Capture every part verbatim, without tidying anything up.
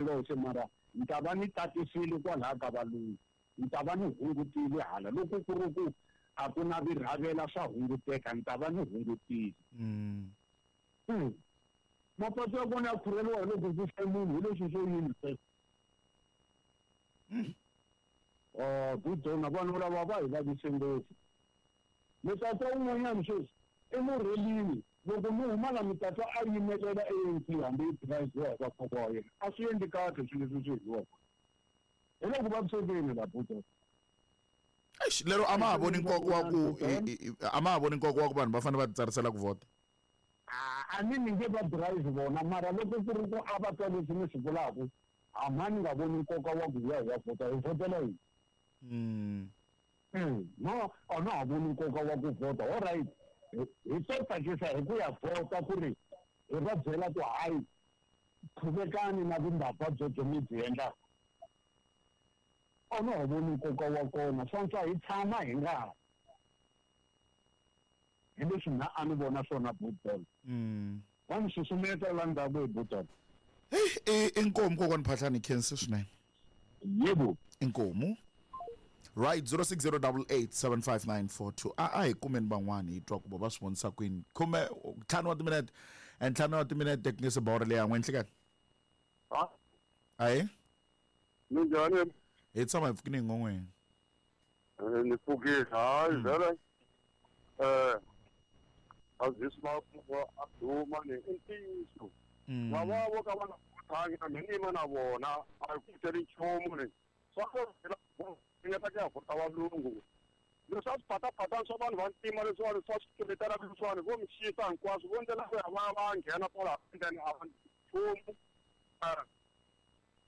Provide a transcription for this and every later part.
ndzoxe mara ni ta va ni tatisile kwalaha ka valungu, ni ta va ni hungutile hala loko ku ri ku a ku na virhavela swa hunguteka, ni ta va ni hungutile. Mm. Hmm. Mapatu ya kona ya khureliwa hi loko ku fe munhu hi leswi swo yini sweswo. Oh, budona vanhu lava va hi vavise ngopfu. Mi ta twa un'wanyana sweswi emurhelini loko mi huma la mi ta twa a yimelela A N C hambi yi drive-iwa hi vakokwa wa yena. A swi endli kahle swilo leswi swi endliwaka. Hi loko vavisekile la budona. Eish, lero a ma ha voni nkoka wa ku a ma ha voni nkoka wa ku vanhu va fanele va titsarisela ku vhota. A ni ni nge va drive vona mara loko ku ri ku a va twa leswi ni swi vulaka, a ma ni nga voni nkoka wa ku ya hi ya vhota, hi vhotela yini? Mm. Mm. No, a na ha voni nkoka wa ku vhota. All right. Hi to tsakisa hi ku ya vhota ku ri hi va byela ku hayi qhuvekani na vumbabva byebyo mi byi endlaka. A na ha voni nkoka wa kona, swa antswa hi tshama hi nga ha. Hi leswi mina a ni vona swona Budona. Mm. Va ni susumeta la ndzhaku hi Budona. Hey, inkomu kokwani Phahlane, khensa swinene. Yebo. Inkomu. Right, zero six zero double eight seven five nine four two. A a hi kumeni van'wani hi twa ku va va swi vonisa kwini. Khume ntlhanu wa timinete, ntlhanu wa timinete ku nge se bawura leyi yan'we nhlikani. Ha? Ahe? Minjhani? Hi tshama hi pfukile hi ngon'weni. Eh, ni pfukile. Hayi, vhele. Eh, Aziz Mapu a duma ni i ntiyiso. Lava vo ka va nga vothangi na mina ni yima na vona a hi ku teli nchumu ni. Swa ku ringeta ku ya vhota valungu. Leswi a swi patapatani swa vanhu va ntima leswiwani swa swi tluletela leswiwani vo mi xisa hinkwaswo vo ndlela ku ya va va nghena kwala then a va nchumu.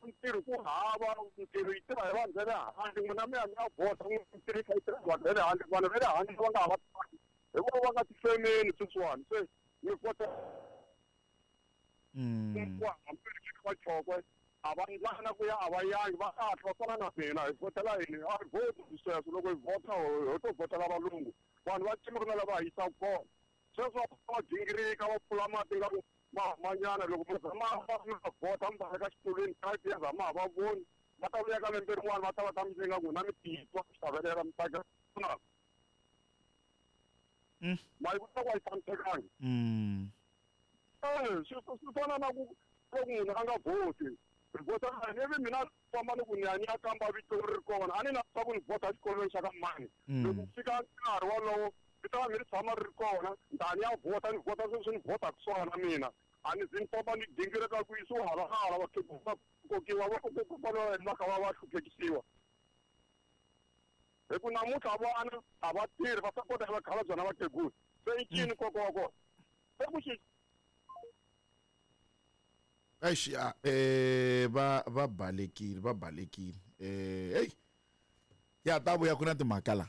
Ntirho ku hava, ntirho yi tirha hi vanhu va le handle, n'wina mi ya mi ya vhota, ntirho yi kha yi tirha hi vanhu va le handle, vanhu va le handle va nga ha va twangi. Hi vona va nga tifemeni sweswiwani, se mi kota Mm. ku hambi va chokwe a va ndlana ku ya a va yangi va kahle va fana na mina hi vhotela yini a hi vhoti sweswo loko hi vhota ho to vhotela valungu vanhu va ntima ku na lava hi yisaka kona sweswo va gingirika va pfula mati nga ku ma humanyana loko mi za ma va vhota mi va eka xitulwini five years a ma ha va voni va ta vuya ka lembe rin'wana va ta va ta mi nyika n'wina mi titwa ku xavelela mi tsakela ma yi vona ku a yi tshamisekangi. Mm. Eh, swi swi fana na ku loko munhu a nga vhoti hi vhota ivi mina famba ni ku ni ya ni ya kamba vito ri kona a ni na swa ku ni vhota exikolweni xa ka mani loko ku fika nkarhi wolowo vito ra mina ri tshama ri ri kona ni ta ni ya vhota ni vhota sweswi ni vhotaka swona mina a ni zi ni famba ni gingirika ku yisiwa hala na hala vakhegula va kokiwa va kokiwa va kha va va hluphekisiwa hi ku namuntlha vana a va tirhi va sapota hi vakhalabye na vakhegula se i ncini nkoka wa kona se ku xi Eish, eh va va balekile va balekile eh hey ya ta vuya ku na timhaka la.